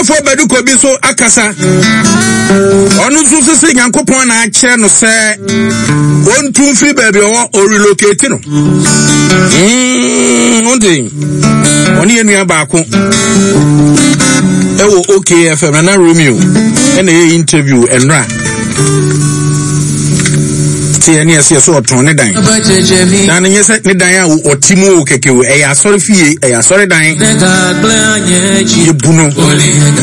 Sɔfoɔ Badu Kobi so akasa. Ɔno nso sese Nyankopɔn na akyerɛ no sɛ ɔntu mfiri baabi ɔwɔ ɔrelocate no. Wonte ɔne yɛn nua baako ɛwɔ OKFM Nana Romeo ɛna ɛyɛ interview ɛnora. Te ɛne ɛsɛ sɛ ɔtɔn ne dan. Na ne nyɛ sɛ ne dan a ɔte mu o kɛkɛ o, ɛyɛ asɔre fie, ɛyɛ asɔre dan. Yɛbu no,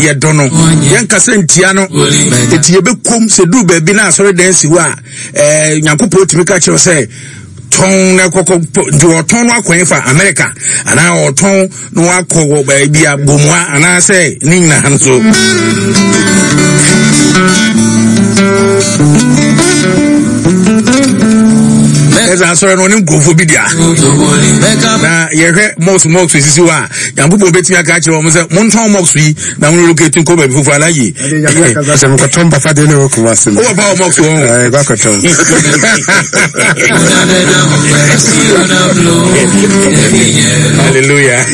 yɛdɔ no, yɛnkasa ntia no. Eti yɛbɛkom sɛ duru baabi na asɔre dan si hɔ a, ɛɛ Nyankopɔn tumi ka kyerɛ sɛ tɔn na kɔkɔ nti ɔtɔn no akɔn fa Amerika anaa ɔtɔn na wakɔ wɔ baabi a gomua anaasɛ ne nyinaa nso. Ɛsɛ asɔre no ɔne nkurɔfoɔ bi dea na yɛhwɛ mɔks mɔks sisi hɔ a Nyankopɔn bɛtumi aka akyerɛ wɔn sɛ montɔn mɔks yi na mo relocate nkɔ baabi foforɔ ala yie. Sɛ mekɔtɔn papa deɛ na ɛwɔ Kumasi no. Wowɔ pa wɔ mɔks wɔ ho. Ɛɛ kɔtɔn. Hallelujah.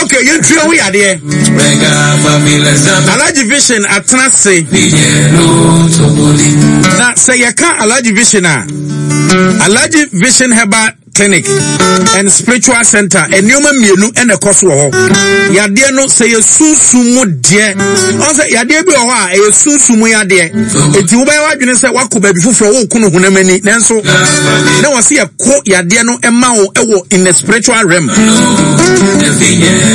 Okay, yɛntua wo yadeɛ. Alhaji Vision atena ase. Na sɛ yɛka Alhaji Vision a, Alhaji Vision Herbal Clinic and Spiritual Center nneɛma mmienu na ɛkɔ so wɔ hɔ. Yadeɛ no sɛ yɛ sunsum mu deɛ, ɔn sɛ yadeɛ bi wɔ hɔ a ɛyɛ sunsum mu yadeɛ. Eti wobɛyɛ w'adwene sɛ wakɔ baabi foforɔ woko no honam ani nanso na wɔsi yɛko yadeɛ no ma wo ɛwɔ in the spiritual realm.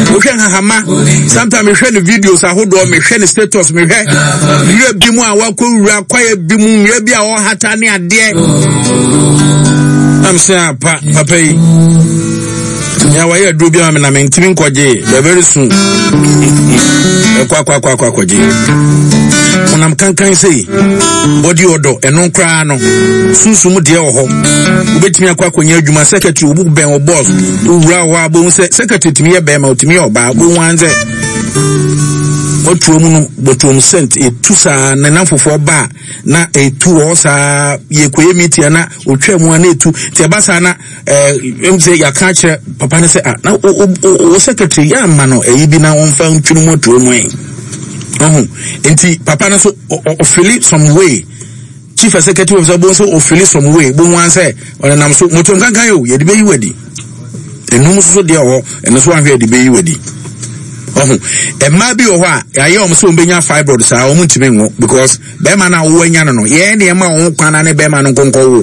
Wohwɛ nhahama, sometimes mehwɛ ne videos ahodoɔ, mehwɛ ne status, mehwɛ nwura bi mu a wakɔ wura kwaeɛ bi mu, nwura bi a ɔhata ne adeɛ. Nam sɛ apa papa yi. Nea wayɛ aduro bi ama me na mentumi nkɔgye but very soon ɛkɔ akɔ akɔ akɔ akɔgye honam kankan sei body odor ɛno koraa no sunsum deɛ wɔ hɔ wobɛtumi akɔ akɔnya adwuma secretary wobu bɛn wo boss wowura hɔ a bohu sɛ secretary tumi yɛ bɛrima otumi yɛ ɔbaa bohu an sɛ wɔtuo mu no bɔtuom sent ɛtu saa ne namfofoɔ ba a na ɛtu wɔ saa yɛkɔyɛ meeting na ɔtwa mu a na ɛtu nti ɛba saa na ɛm sɛ yɛaka akyerɛ papa no sɛ ah na wo secretary yɛ ama no ɛyi bi na wɔmfa ntwene mu atuo mu ɛ ɔho nti papa no so ɔfili some way chief executive officer bó nso ɔfili some way bó wọn sɛ ɔnenam so motom kankan o yɛde bɛyi wadi enum nso deɛ ɔhɔ ɛno nso ahwɛ yɛde bɛyi wadi ɔho mmaa bi wɔ hɔ a yɛayɛ wɔn sɛ wɔn bɛnya fibroid saa wɔn ntumi nwo because bɛrima no a wɔwɔ anya no no yɛn nneɛma a wɔn kwan na ne bɛrima no nkonkɔ wo.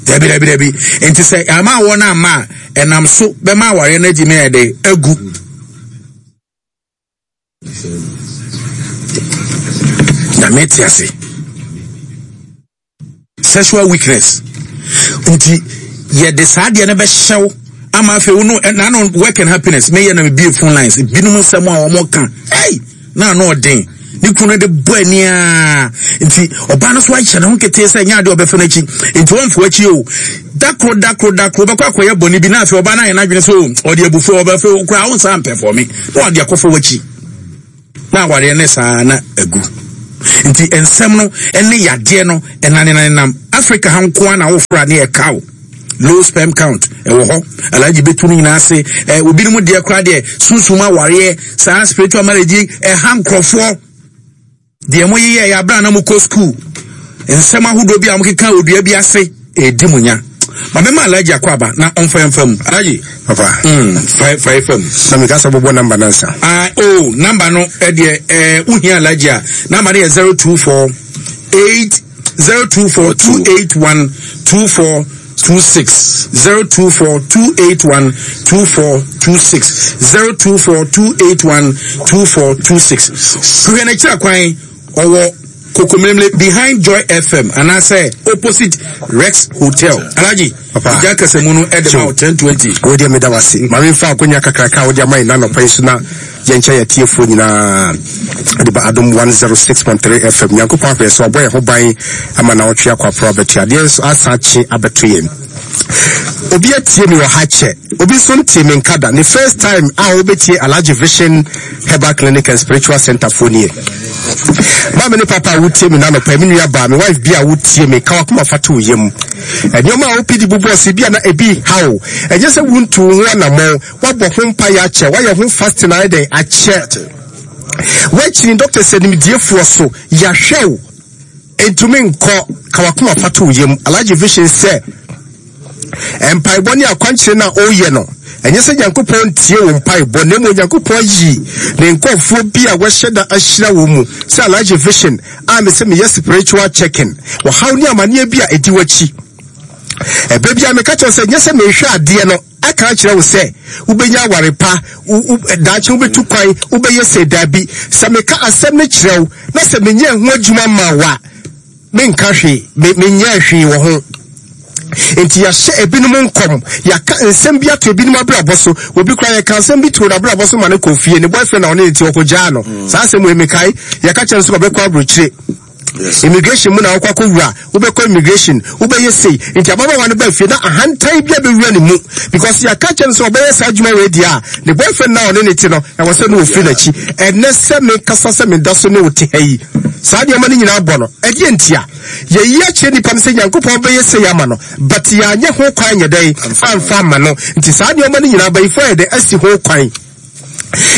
Dabi, dabi, dabi. Nti sɛ ama awɔ no amma a, ɛnam so bɛma awareɛ no agyi mɛyɛ dɛ agu. Nyame te ase. Sexual weakness. Nti yɛde saa adeɛ no bɛhyɛw ama afei wo no na no work and happiness meyɛ na mebie phone lines binom nsɛm a wɔn ka. Hey! na ano ɔden ne kunu no de bɔ ani ara nti ɔbaa no so ahyɛ ne ho ketee sɛ ɛnyɛ adeɛ ɔbɛfa n'akyi nti wɔmfo akyi o dakoro dakoro dakoro bɛkɔ akɔyɛ bɔne bi na afei ɔbaa no ayɛ n'adwene sɛ ɔde abufuo ɔbɛfɛ koraa wo nsa mpɛfɔ me na ɔde akɔfɔ w'akyi na awareɛ ne saa na agu nti nsɛm no ne yadeɛ no ɛnanenanenam Africa ha nko ara na wofra ne ɛka o low sperm count ɛwɔ hɔ alhaji bɛtu no nyinaa ase ɛ obinom deɛ koraa deɛ sunsum awareɛ saa spiritual marriage yi ɛha nkurɔfoɔ deɛ mo yeyɛ yɛ abira na mo kɔ school nsɛm ahodoɔ bi a mo keka odua bi ase ɛdi mo nya ma mɛma alhaji akɔ aba na ɔmfa yɛn fa mu alhaji papa fa fa yɛ fa mu na meka sɛ bɔbɔ namba no ansa ah oh namba no ɛdeɛ ɛɛ wohia alhaji a namba no yɛ 024 8 024 281 2426 024 281 2426 024 281 2426 hwehwɛ n'akyira kwan ɔwɔ kokomlemle behind Joy FM anaasɛ opposite Rex Hotel Alhaji ìjà kẹsẹ̀ no ɛde ma 1020. Wo deɛ meda wase ma memfa akonya kakraka a wode ama yɛn anɔpa yi so na yɛnkyɛ yɛ atiefoɔ nyinaa de ba Adom 106.3 FM. Nyankopɔn ahwɛ so abɔ yɛn ho ban ama na ɔtwe akɔ aporo abɛto adeɛ nso asan akye abɛto yɛn. Obi atie me wɔ ha kyɛ, obi nso ntie me nka da. Ne first time a wobɛtie Alhaji Vision Herbal Clinic and Spiritual Center foɔ nie. Maame ne papa a wotie me nanɔpa, me nua baa, me wife bi a wotie me, ka wakoma fa to wo yam. Nneɛma a wopɛ di bobɔ ase bi a na ebi ha wo. Ɛnyɛ sɛ wontu wo ho anammɔn, woabɔ ho mpaeɛ akyɛ, woayɛ ho fasting ayɛ dɛn akyɛ. Woakyini doctors animdiefoɔ so, yɛahwɛ wo, ntumi nkɔ, ka wakoma fa to wo yam. Alhaji Vision sɛ mpaebɔ ne akwankyerɛ no a ɔreyɛ no, ɛnyɛ sɛ Nyankopɔn ntie wo mpaebɔ, na mmom Nyankopɔn ayi ne nkurɔfoɔ bi a wɔahyɛ da ahyira wɔn mu sɛ Alhaji Vision a mesɛ meyɛ spiritual checking, ɔhaw ne amaneɛ bi a ɛdi w'akyi. Ɛberɛ biara meka kyerɛ sɛ nyɛ sɛ mehwɛ adeɛ no aka akyerɛ wo sɛ wobɛnya aware pa, daakye wobɛtu kwan, wobɛyɛ sɛ daabi. Sɛ meka asɛm no kyerɛ wo na sɛ menyɛ ho adwuma ma wo a, menka hwee, menyɛɛ hwee wɔ ho. Nti yɛahyɛ ebinom nkɔm, yɛaka nsɛm bi ato ebinom abrabɔ so. Obi koraa yɛka asɛm bi too n'abrabɔ so ma no kɔ fie, ne boyfriend na ɔne ne ti ɔkɔgyaa no. Saa asɛm wei mekae, yɛka kyerɛ no sɛ ɔbɛkɔ aburokyire. Immigration mu na wokɔ akɔwura, wobɛkɔ immigration, wobɛyɛ sei. Nti ababaawa no ba fie na ahantan bi abɛwura ne mu because yɛaka kyerɛ no sɛ ɔbɛyɛ saa adwuma wei deɛ a, ne boyfriend na ɔne ne te no, ɛwɔ sɛ ne ɔfiri n'akyi. Ɛnɛ sɛ mekasa sɛ meda so ne wo te ha yi, saa nneɛma no nyinaa bɔ no. Ɛdeɛ ntia? Yɛyi akyerɛ nipa no sɛ Nyankopɔn bɛyɛ sei ama no, but yɛanyɛ ho kwan nyɛ dɛn amfa amma no. Nti saa nneɛma no nyinaa abayifoɔ ayɛ dɛn asi ho kwan.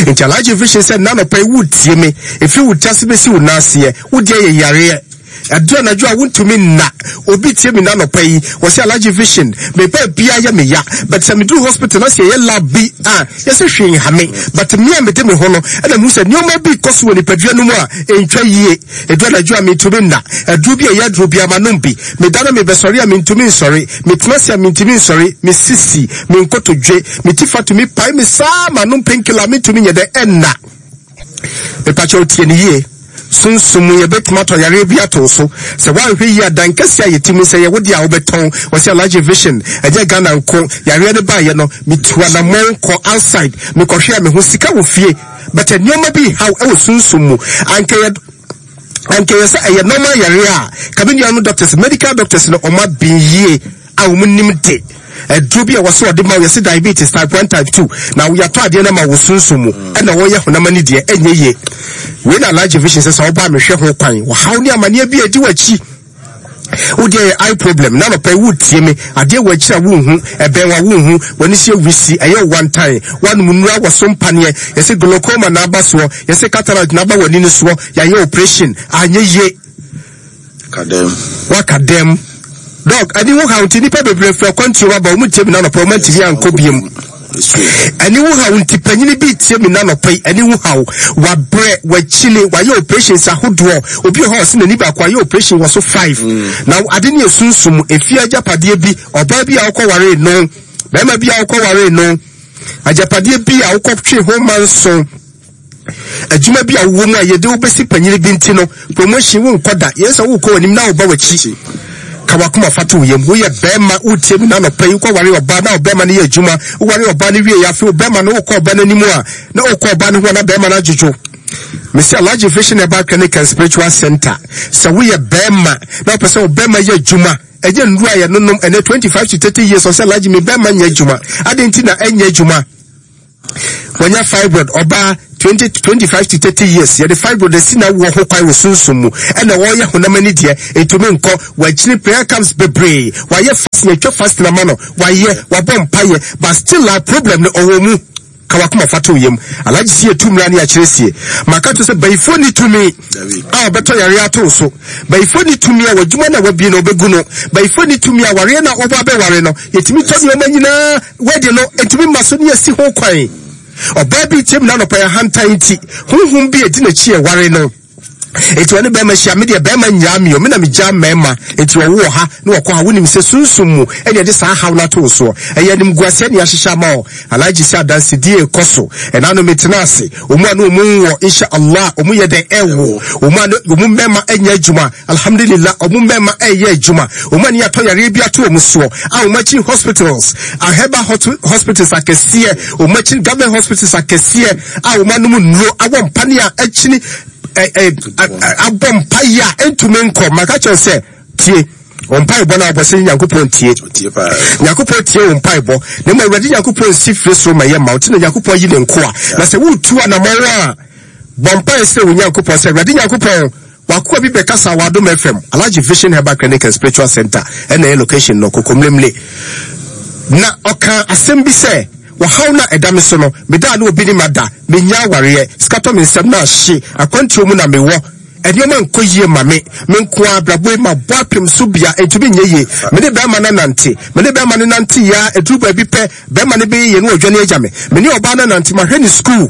Nti Alhaji Vision sɛ nna anɔpa yi woretie me, ɛfiri wo ti ase bɛsi wo nan aseɛ, wo deɛ yɛ yareɛ. Ɛduru anadwo a wontumi nna. Obi tie me nna anɔpa yi, wɔse Alhaji Vision, me baabiara yɛ me ya, but sɛ meduru hospital na sɛ yɛyɛ lab bi a, yɛse hwee nha me, but me a mede me ho no, ɛna mehu sɛ nneɛma bi rekɔ so wɔ nipadua no mu a ɛntwa yie. Ɛduru anadwo a mentumi nna. Aduro bi a ɛyɛ aduro biara manom bi. Meda na mebɛsɔre a mentumi nsɔre. Metena ase a mentumi nsɔre. Me sisi, me nkotodwe, me ti fa tumi pae me saa manom painkiller a mentumi nyɛ dɛ ɛnna. Mepakyɛw tie no yie. Sunsum mu yɛbɛtumi atɔ yareɛ bi ato wo so. Sɛ woanhwɛ yie a dan kɛseɛ a yɛte mu sɛ yɛ wo deɛ a wobɛtɔn. Wɔse Alhaji Vision, ɛnyɛ Ghana nko. Yareɛ no baeɛ no, metu anamɔn kɔ outside. Mekɔhwɛɛ me ho. Sika wɔ fie. But nneɛma bi haw wɔ sunsum mu. Anka yɛ anka yɛ sɛ ɛyɛ normal yareɛ a, ka me nuanom doctors, medical doctors no wɔn aben yie a wɔn nim de. Aduro bi a wɔsɛ wɔde ma wo yɛsɛ diabetes type 1 type 2 na yɛatɔ adeɛ no ama wo sunsum mu ɛna wɔyɛ honam ani deɛ ɛnyɛ yie. Wei na Alhaji Vision sɛ sɛ wɔba a mehwɛ ho kwan. Wɔhaw ne amaneɛ bi a ɛdi w'akyi. Wo deɛ yɛ eye problem na anɔpa yi woretie me adeɛ wɔ akyiri a wonhu ɛbɛn wa wonhu w'ani so yɛ wisi ɛyɛ wo wantan woanom nnura wɔ so mpaneɛ yɛsɛ glaucoma na aba soɔ yɛsɛ cataract na aba w'ani no soɔ yɛayɛ operation anyɛ yie waka dɛm dɔk ani ho haw nti nnipa bebree firi akwantuo aba wɔn tie me na anɔpa wɔn antumi ankɔ biem Ɛne wo haw nti panyini bi retie me nnanɔpa yi ɛne wo haw wabrɛ wakyini wayɛ operations ahodoɔ obi wɔ hɔ a ɔse n'ani baako ayɛ operation wɔ so five mm. na ade ne esunsum efie agyapadeɛ bi ɔbaa bi a wokɔ waree no bɛrima bi a wokɔ waree no agyapadeɛ bi a wokɔ twe ho manso Adwuma bi a wowɔ mu a yɛde wo bɛsi panyini bi nti no, promotion wonkɔ da. Yɛn sɛ wokɔ w'anim na woba w'akyi. Ka w'akoma fa to wo yam. Woyɛ bɛrima, wotie me n'anɔpa yi, wokɔware ɔbaa na ɔbɛrima no yɛ adwuma. Woware ɔbaa no wie afei ɔbɛrima no wokɔ ɔbaa no anim a, na wokɔ ɔbaa no ho a na bɛrima no adwodwo. Mesi Alhaji Vision Herbal Clinic and Spiritual Center. Sɛ woyɛ bɛrima na wopɛ sɛ ɔbɛrima yɛ adwuma, ɛnyɛ nnuru a yɛnonom ɛnɛ 25 to 30 years ɔsɛ Alhaji me bɛrima nyɛ adwuma. Adɛn nti na ɛnyɛ adwuma? Wanya fibroid, ɔbaa, 20, 25 to 30 years, yɛde fibroid asi na wɔ ho kwan wɔ sunsum mu, ɛna wɔyɛ honam ani deɛ, ɛtumi nkɔ, wakyini prayer camps bebree, wayɛ fasting, atwa fasting ama no, wayɛ, wabɔ mpayɛ, but still a problem no ɔwɔ mu. Ka wakoma fa to yam. Alhaji si etu mmira ne akyerɛ sie. Maka to sɛ bayifoɔ ni tumi a ɔbɛtɔ yareɛ ato so. Bayifoɔ ni tumi a w'adwuma na wabie no ɔbɛgu no. Bayifoɔ ni tumi a wareɛ na ɔba abɛware no. Yɛtumi tɔ nneɛma nyinaa Wedding no ntumi mma so ne asi ho kwan. Ɔbaa bi retie me n'anɔpa yi ahantan nti, honhom bi edi n'akyi ɛware no. Enti ɔne bɛrima hyia, me deɛ bɛrima nnyaa me o, me na megyaa mmarima. Enti ɔwo wɔ ha na wɔkɔ ha, wonim sɛ sunsum mu ɛne ɛde saa haw no ato wo soɔ. Ɛyɛ animguaseɛ ne ahyehyɛ ama wo. Alhaji sɛ adansedie rekɔ so. Ɛna no metena ase. Wɔn a ne wɔn nwɔ, insha Allah, wɔn yɛ dɛn ɛwo. Wɔn a ne wɔn mmarima nyɛ adwuma. Alhamdulillah ɔmo mmɛɛma ɛɛyɛ adwuma, ɔmo ani atɔ yareɛ bi ato ɔmo soɔ a ɔmo akyi hospitals, ahɛba hospitals akɛseɛ, ɔmo akyi government hospitals akɛseɛ a ɔmo anom nnuro awɔ mpane a akyini abɔ mpaeɛ a ɛntumi nkɔ. Maka kyerɛ sɛ tie wɔn mpaebɔ no a wɔbɔ sɛ Nyankopɔn tie. Nyankopɔn tie wɔn mpaebɔ. Na mmom Awurade Nyankopɔn nsi firi soro ma yɛ ma wo. Nti na Nyankopɔn yi ne nkoa. Na sɛ woretu anamɔn a, bɔ mpae srɛ wo Nyankopɔn sɛ, Awurade Nyankopɔn, W'akoa bi bɛkasa wɔ Adom FM, Alhaji Vision Herbal Clinic and Spiritual Center ɛna ɛyɛ location no, Kokomlemle. Na ɔkaa asɛm bi sɛ, Ɔhaw no a ɛda me so no, meda a na obi ne me ada, mennya awareɛ, sika tɔ me nsam na ahye, akwantuo mu na mewɔ, nneɛma nkɔ yie ma me, me nko ara abrabɔ yi mabɔ apem so bia ɛntumi nyɛ yie, me ne bɛrima no anante, me ne bɛrima no nante yie ara, ɛduru baabi pɛ, bɛrima no bɛyɛ yie na wadwane agya me, me ne ɔbaa no anante, mahwɛ ne sukuu,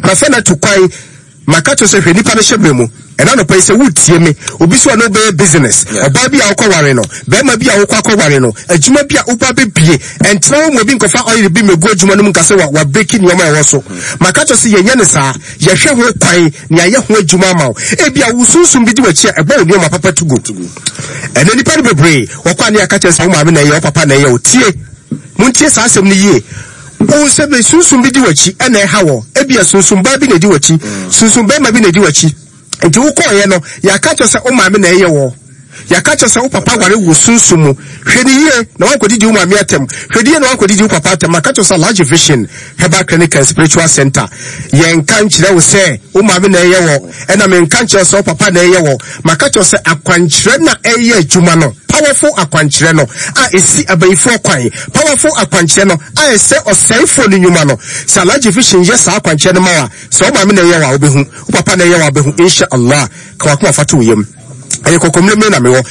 mafa no atu kwan, Maka kyerɛ sɛ hwɛ nipa no hyɛbrɛ mu ɛna anɔpa yi sɛ wotie me obi so a ne wobɛyɛ business ɔbaa bi a wokɔware no bɛrima bi a wokɔ akɔware no adwuma bi a woba bɛbie ɛntena hɔ mu obi nkɔfa ɔyere bi mmɛgu adwuma no mu nka sɛ wa wabreki nneɛma a ɛwɔ so maka kyerɛ sɛ yɛnyɛ ne saa yɛhwɛ ho kwan ne ayɛ ho adwuma ama wo ebi a wo sunsum bi di w'akyi a ɛbɔ wo nneɛma papa to gu ɛnɛ nipa no bebree wɔkɔ a ne yɛaka kyerɛ sɛ wo maame na ɛyɛ wo papa na ɛyɛ wo tie montie saa asɛm no yie Wohu sɛ bɛ sunsum bi di w'akyi na ɛha wɔ. Ebia sunsum baa bi na edi w'akyi, sunsum barima bi na edi w'akyi. Nti wokɔɔeɛ no, yɛaka kyerɛ sɛ wo maame na ɛyɛ wɔ. Yɛaka kyerɛ sɛ wo papa ware wo sunsum mu. Hwɛ no yie na woankɔdidi wo maame atɛm. Hwɛ no yie na woankɔdidi wo papa atɛm. Maka kyerɛ sɛ Alhaji Vision Herbal Clinic and Spiritual Center, yɛnka nkyerɛ wo sɛ wo maame na ɛyɛ wɔ, ɛna menka nkyerɛ wo sɛ wo papa na ɛyɛ wɔ. Maka kyerɛ wo sɛ akwankyerɛ na ɛyɛ adwuma no. Powerful akwankyerɛ no a ɛsi abayifoɔ kwan, powerful akwankyerɛ no a ɛsɛ ɔsɛefoɔ no nnwuma no. Sɛ Alhaji Vision yɛ saa akwankyerɛ no ma wo a, sɛ wo maame na ɛyɛ wo a wobɛhu, wo papa na ɛyɛ wo a wobɛhu, Insha Allah. Ka w'akoma fa to wo yam. Ɛyɛ kɔkɔmmerɛmmerɛ na mewɔ.